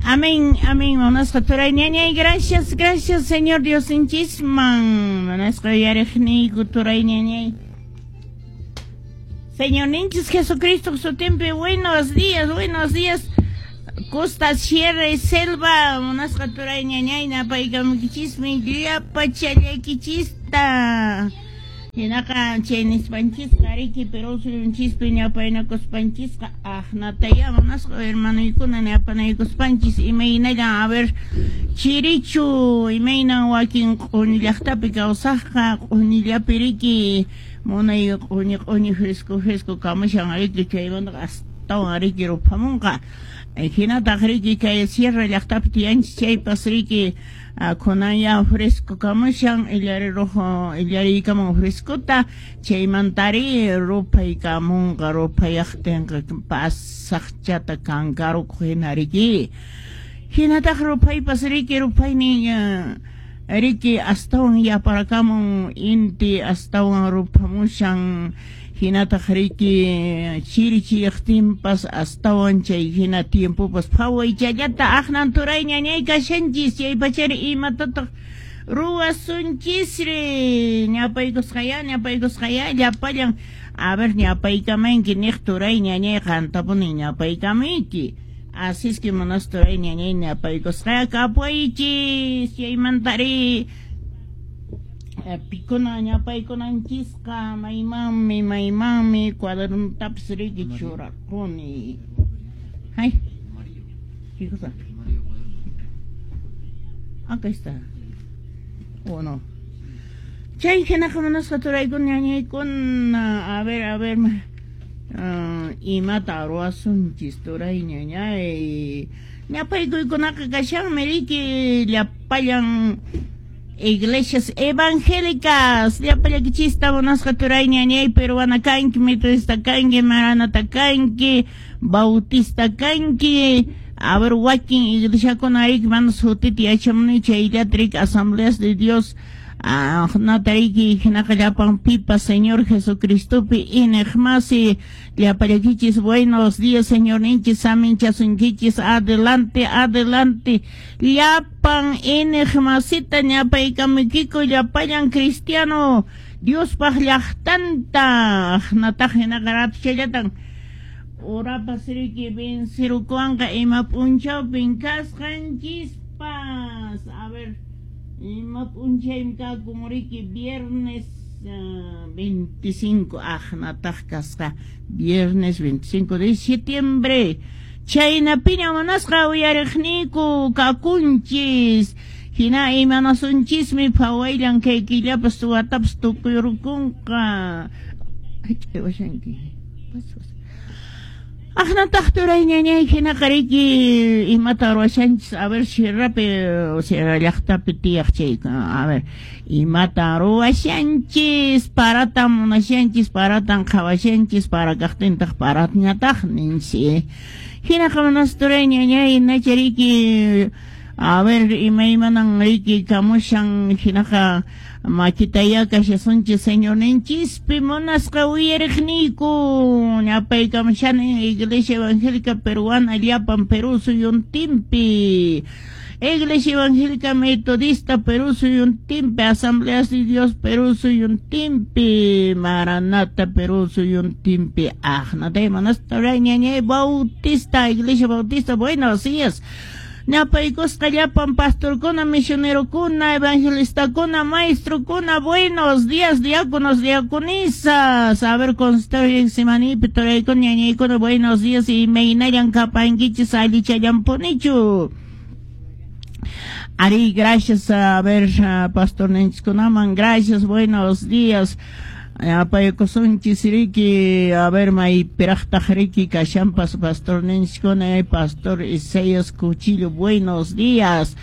Amén, amén. Munasqa turay ñañay, gracias, gracias, Señor Diosninchisman. Munasqa uyariqniyku turay ñañay. Señorninchis Jesucristo sutinpi, buenos días, buenos días. Costa, Sierra y Selva, munasqa turay ñañay, napaykamukichismi llapachallaykichista. Hinaqa chay nispanchisqa riki Perú suyunchispi ñapaynakuspanchisqa aqnatayá munasqa hermanoykuna ñapanaykuspanchis imaynallan a ver chirichu imaynan wakin q'uñi llaqtapi kawsaqqa q'uñillapi riki munay q'uñi q'uñi fresco fresco kamushan riki chaymantaqa astawan riki ruphamunqa hinataq riki kay sierra llaqtapi tiyanchis chaypas riki kunan fresco kamushan illari rojo illariykamun frescota chaymantari ruphaykamunqa ruphayaqtinqa pasaqchata kankarukuq hina riki hinataq ruphaypas riki ruphaynin riki astawan yaparakamun inti astawan ruphamushan hinataq riki chiri chiriyaqtinpas astawan chay hina tiempopas phawaychallata aqnan turay ñañay kashanchis chay pachari imatataq ruwasunchisri ñapaykusqaya ñapaykusqaya llapallan a ver ñapaykamanki niq turay ñañay qantapuni ñapaykamayki. Así es que manas turay ñañay ñapaykusqaya kapuychis chaymantari pikuna ñapaykunanchisqa maymanmi maymanmi cuadernotapis riki churarquni. Ay, ¿qué cosa? Acá está. ¿O no? Chay hinaqa munasqa turaykuna ñañaykuna a ver imata ruwasunchis turay ñañay ñapaykuykunaqa kashanmi riki llapallan iglesias evangélicas llapallakichista munasqa turay ñañay peruana kanki metodista kanki maranata kanki bautista kanki a ver wakin iglesiakuna riki mana sutita yachamuni chayllata riki asambleas de Dios natariki hinaqa llapan pipa Señor Jesucristopi iñiqmasi llapallakichis buenos días Señorninchis saminchasunkichis adelante adelante llapan iñiqmasita ñapaykamukiku llapallan cristiano Diospaq llaqtanta nataq hinaqa ratuchallatan urapas riki vencerukuwanqa ima p'unchawpin kasqanchispas a ver ima p'unchaymi kakun riki viernes 25 aqnataq kasqa viernes 25 de septiembre chaynapiña munasqa uyariqniyku kakunchis hina imanasunchismi phawayllan kay killapas watapas tukuyrukunqa ch'awashanki. Aqnataq turay ñañay hinaqa riki imata ruwashanchis a ver sierrapi sierra llaqtapi tiyaq chay a ver imata ruwashanchis paratan munashanchis paratan qhawashanchis para kaqtintaq paratñataq ninchis hinaqa munas turay ñañay nacha riki a ver imaymanan riki kamushan hinaqa makitaya kashasunchis Señorninchispi munasqa uyariqniyku ñapaykamushani Iglesia Evangélica Peruana llapan Perú suyuntinpi Iglesia Evangélica Metodista Perú suyuntinpi Asambleas de Dios Perú suyuntinpi Maranata Perú suyuntinpi aqnatay munasqa ñañay Bautista Iglesia Bautista buenos días ñapaykusqa llapan pastorkuna, misionerokuna, evangelistakuna, maestrokuna, buenos días, diáconos, diaconisas. A ver, consultorio simanipi, turaykuna, ñañaykuna, buenos días, imaynallan kapankichis, allichallampunichu. Ari, gracias, a ver, pastor ninchikunaman, gracias, buenos días. Apaykusunchis riki, a ver, maypiraqtaq riki kashanpas pastor ninchikuna, pastor Isaías Cuchillo, buenos días.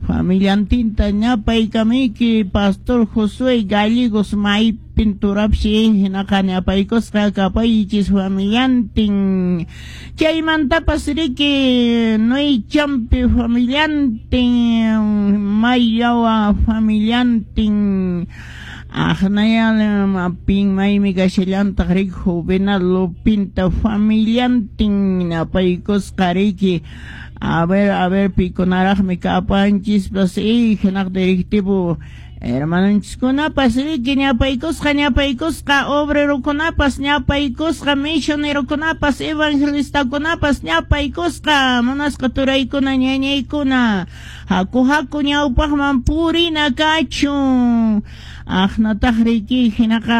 Familiantinta ñapaykamiki, pastor Josué Gallegos, maypin turapsi, hinaqa ñapaykusqa kapaychis familiantin. Chaymantapas riki, Noychampi familiantin, Mayawa familiantin. Aqnaya pin maymi kashallantaq riki Juvenal Lupinta familiantin napaykusqa riki. A ver pikunaraqmi kapanchispas y hinaq directivo hermanonchiskunapas riki ñapaykusqa ñapaykusqa obrerokunapas ñapaykusqa misionerokunapas evangelistakunapas ñapaykusqa munasqa turaykuna ñañaykuna haku haku ñawpaqman purina kachun aqnataq riki hinaqa.